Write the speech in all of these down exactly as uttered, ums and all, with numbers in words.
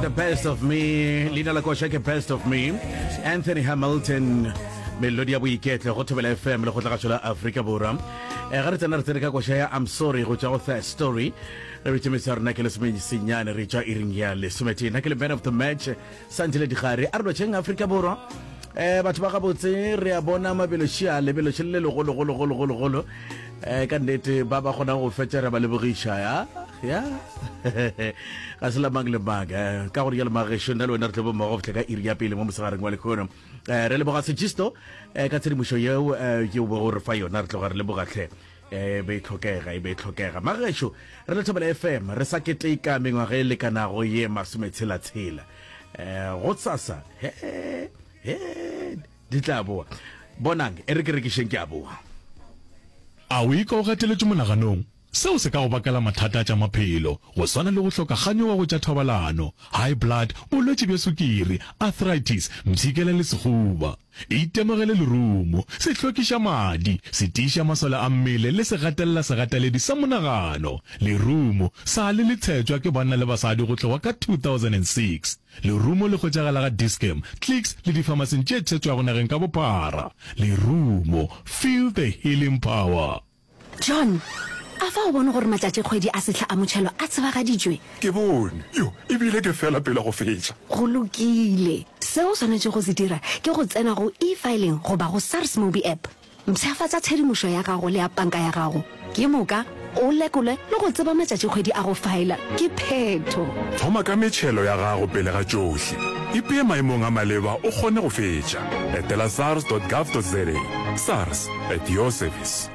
The Best of Me, leina la koša ke Best of Me, Anthony Hamilton, melodi ya boiketlo go Thobela F M le go tlagatšo la Afrika Borwa. Eh, ga re tsena re tsene ka koša ya I'm Sorry go tšwa go Third Story. Re bitše metse ya rena ke lesomesenyane re tšwa iring ya lesometee. Nna ke le man of the match, Santile Digare. A re lotšheng Afrika Borwa. Eh, batho ba gabotse re a bona mabelo šia lebelo še le legologologologologolo eh, ka nnete ba ba kgonang go fetša re ba lebogiša ya ya ga se la mang le mang eh, ka gore jalo magešo nna le wena re tlo bo mmogo go fihla ka iri ya pele mo mosegareng wa lekgono. eh, re leboga Segisto eh, ka tshedimošo yeo eh, yeo bo re fa yona, re tloga re lebogatlhe, e be e tlhokega, e be e tlhokega. Magešo, re le Thobela F M re sa keteka mengwaga e lekanago ye masometshela-tshela. um go tsasa he he di tla boa, bonang e re ke rekišeng, ke a boa. A o ikwa o gateletšwe monaganong? Seo se ka go bakela mathata a tša maphelo, go swana le go hloka kganyogo go tša thobalano, high blood, bolwetši bja sukiri, arthritis, mpshikela le sehuba. Itemogele lerumo, se hlwekiša madi, se tiiša masole a mmele le se gatelela segateledi sa monagano. Lerumo sa le le tshetšwa ke banna le basadi go tloga ka two thousand and six. Lerumo le hwetšagala ga Dis-Chem, Clicks le difamasing tše tshetšwago nageng ka bophara. Lerumo, feel the healing power. John, a fa o bone gore matšatši kgwedi a sehla a motšhelo a tsebagaditšwe? Ke bone yo, ebile ke fela pele go fetša. Go lokile. Seo o swanetše go se dira ke go tsena go eFiling goba go SARS Mobi App, mpshafatša tshedimošo ya gago le ya panka ya gago, ke moka o lekole le go tseba matšatši kgwedi a go faela. Ke phetho. Thoma ka metšhelo ya gago pele ga tšohle. Ipee maemong a maleba o kgone go fetša. Etela sars dot gov dot za. SARS, at your service.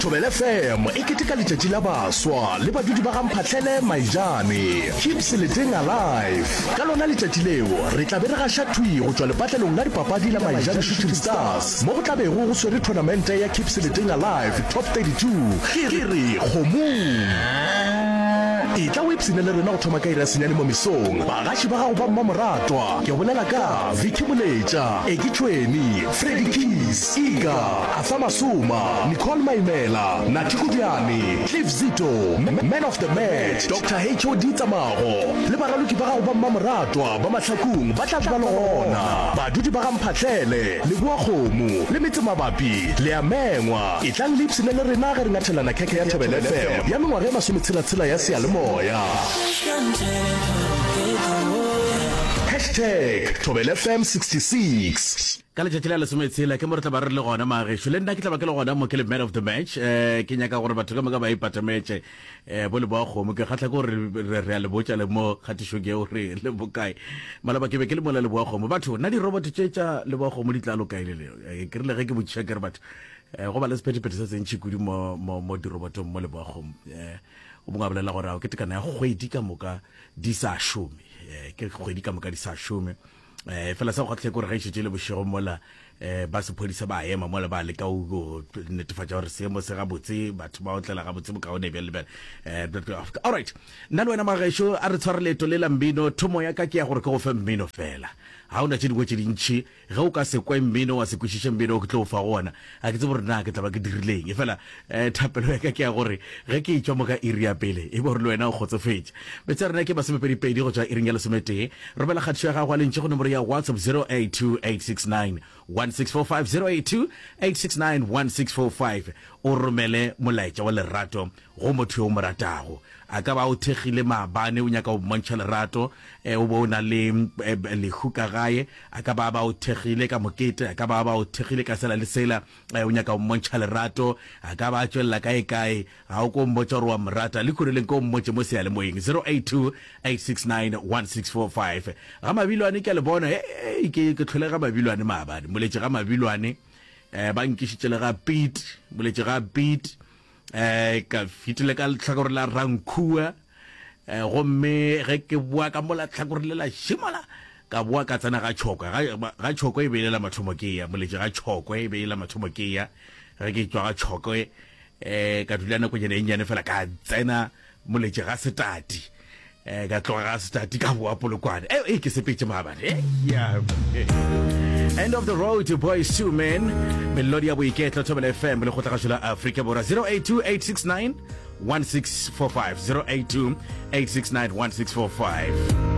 Thobela F M e keteka letšatši la baswa le badudi ba Gamphatlhele Maijane. Keep Seleteng alive. Ka lona letšatši leo re tla be re gaša thwi go tšwa lepatlelong la dipapadi la Maijane Shooting Stars, mo go tla bego go swere tournamente ya Keep Seleteng Alive Top thirty-two. Ke re kgomong e tla o ipshine le rena go thoma ka iri ya senyane mo mesong. Bagaši ba gago ba mmamoratwa ke bolela ka Vicky Moletša, Eke Tšhweni, Freddy Keys, Ika Arthur Masoma, Nicole Maimela, Nathi Kudiane, Cliff Zito, man of the match Doctor H O D Tsamago le baraloki ba gago ba mmamoratwa ba Mahlakung ba tla ba le gona. Badudi ba Gamphatlhele, Leboa Kgomo le metse mabapi le a mengwa. E tlang le ipshine le rena ge re ngathelana khekhe ya Thobela F M ya mengwaga e masometshela-tshela ya seyalemoya. Hashtag Thobela F M sixty-six. Ka letšatši la lesometshela ke mo re tla ba re le gona magešo, le nna ke tla ba ke le gona mo ke le man of the match. um ke nyaka gore batho ka moka ba ipatametše um bo Leboa Kgomo. Ke kgatlha ke gore re re a le botša le mo kgatišong eo re le bokae. Malaba ke be ke le mola Leboa Kgomo. Batho, nna dirobot tše tša Leboa Kgomo di tla lokae le leo? Eh, ke rile ge ke botšiša ke re batho um go ba le sephethephethe se sentšhi kudu mo mo mo dirobotong mo Leboa Kgomo. um o mongwe a bolela gore ao ke tekano ya kgwedi ka moka di sa šome, um ke kgwedi ka moka di sa šome. um fela sa go kgatlhe ke gore ge e šetše le bošego mola um ba sephodisa ba ema mola ba leka go netefatša gore seemo se gabotse, batho ba otlela gabotse bokaone bjale le bjale. um alright, nna le wena magešo a re tshware leeto le la mmino. Thomo ya ka ke ya gore ke go fe mmino fela, ga o na tše dingwe tše dintšhi. Ge o ka se kwe mmino, wa se kwešiše mmino o ke tlo o fa go ona, ga ke tsebe gore na ke tla ba ke dirileng. E fela um thapelo ya ka ke ya gore ge ke etšwa mo ka iri ya pele e be gore le wena o kgotsofetše. Metse ya rena ke masomepedipedi go tšwa iring ya lesometee. Romela kgatišo ya gago a lentši go nomoro ya WhatsApp zero eight two, eight six nine, one six four five, zero eight two, eight six nine, one six four five. O romele molaetša wa lerato go motho yo o mo ratago. A ka ba o thekgile maabane, o nyaka go mmontšha lerato, eh, o bo o na le eh, lehu ka gae. A ka ba ba o thekgile ka mokete, a ka ba ba o thekgile ka sela le sela, eh, o nyaka go mmontšha lerato. A ka ba a tšwelela kae kae, ga o ko mmotša gore wa mo rata le khoreleng, ko mmotše mo seyalemoyeng zero eight two, eight six nine, one six four five. Ga Mabilwane ke a le bona. Hey, ke ke tlhole ga Mabilwane maabane, moletše ga Mabilwane, eh, ba nkišitše le ga Pete, moletše ga Pete, eh ka fetile ka lehlakore la Rankhua, eh gomme ge ke boa ka mola tlhakore le la šimola ka boa ka tsena ga Tšhokwe. ga ga Tšhokwe e be e le la mathomo ke ya moletše ga Tšhokwe, e be e le la mathomo ke ya. Ge ke tšwa ga Tšhokwe eh ka dula nakonyana e nnyane fela, ka tsena moletše ga Setati, eh ka tloga ga Setati ka boa Polokwane. eh eh, ke sepetse maabane. eh yeah. End of the Road, Boys Two Men, melodi ya boiketlo, Thobela F M le kgotlagašo la Afrika Borwa, zero eight two, eight six nine, one six four five, zero eight two, eight six nine, one six four five.